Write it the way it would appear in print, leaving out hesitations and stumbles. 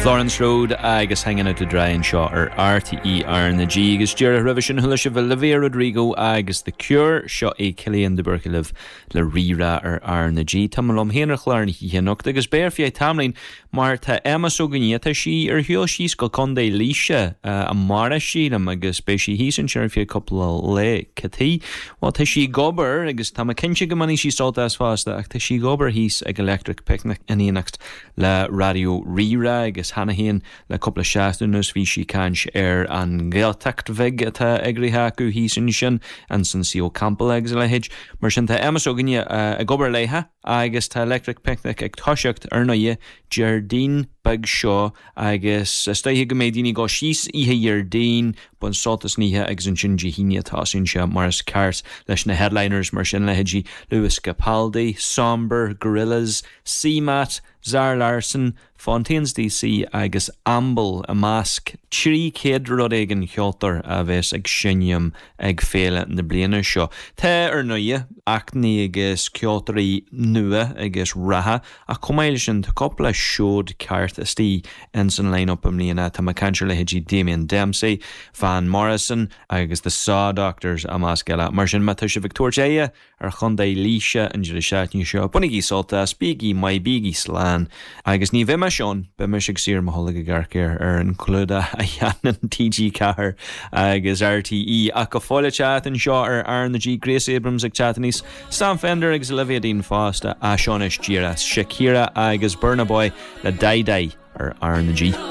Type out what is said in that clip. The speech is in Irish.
Florence Road agus Hanging Out to Dry anseo ar RTÉ R na G agus díreach roimhe sin chuala sibh Olivia Rodrigo agus The Cure. Seo é Cillian de Búrca libh le Rí-Rá ar R na G. Tá mé liom féin ar chlár na hoíche anocht agus beidh ar feadh tamaillín Mar tá Emma s'againne, tá sí ar shiúl síos go Contae Laoise amárach, sílim, agus beidh sí thíos ansin ar feadh cúpla lá. Cad chuige? Bhuel, tá sí ag obair, agus tá mé cinnte go mbainfidh sí sult as fosta, ach tá sí ag obair thíos ag Electric Picnic in éineacht le Raidió Rí-Rá agus cheana féin le cúpla seachtain anuas bhí sí ag caint ar an nGaeltacht bheag atá eagraithe acu thíos ansin, ins an Suí Campall agus a leithéid. Mar sin tá Emma s'againne ag obair léithe. Agus tá Electric Picnic ag toiseacht, ar ndóighe, Déardaoin beag seo agus is dóiche go mbeidh daoine ag dul síos oíche Dhéardaoin, baint sult as an oíche agus ansin Dé hAoine tosaíonn sé mar is ceart leis na headliners mar sin, leithéidí Lewis Capaldi, Sombr, Gorillaz, CMAT, Zara Larsson, Fontaines DC agus Amble i measc 300 rud éigin ceoltóir a bheas ag seinm ag féile na bliana seo. Tá, ar ndóighe, actanna agus ceoltóirí nua agus reatha ach chomh maith leis sin tá cúpla seod ceart istigh ins an line-up i mbliana. Tá mé ag caint ar leithéidí Damien Dempsey, Van Morrison agus The Saw Doctors i measc eile. Mar sin má tá sibh ag tabhairt aghaidhe ar Chontae Laoise an deireadh seachtaine seo. Bainigí sult as, bígí maith, bígí slán. Agus ní bheidh mise ann, beidh mise ag suí ar mo tholg ag amharc ar ar an clúdach a dhéanann TG4 agus RTÉ. Ach go fóill ag teacht anseo ar R na G, Grace Abrams ag teacht aníos, Sam Fender agus Olivia Dean fosta, as seo anois díreach Shakira agus Burna Boy le Dai Dai ar R na G.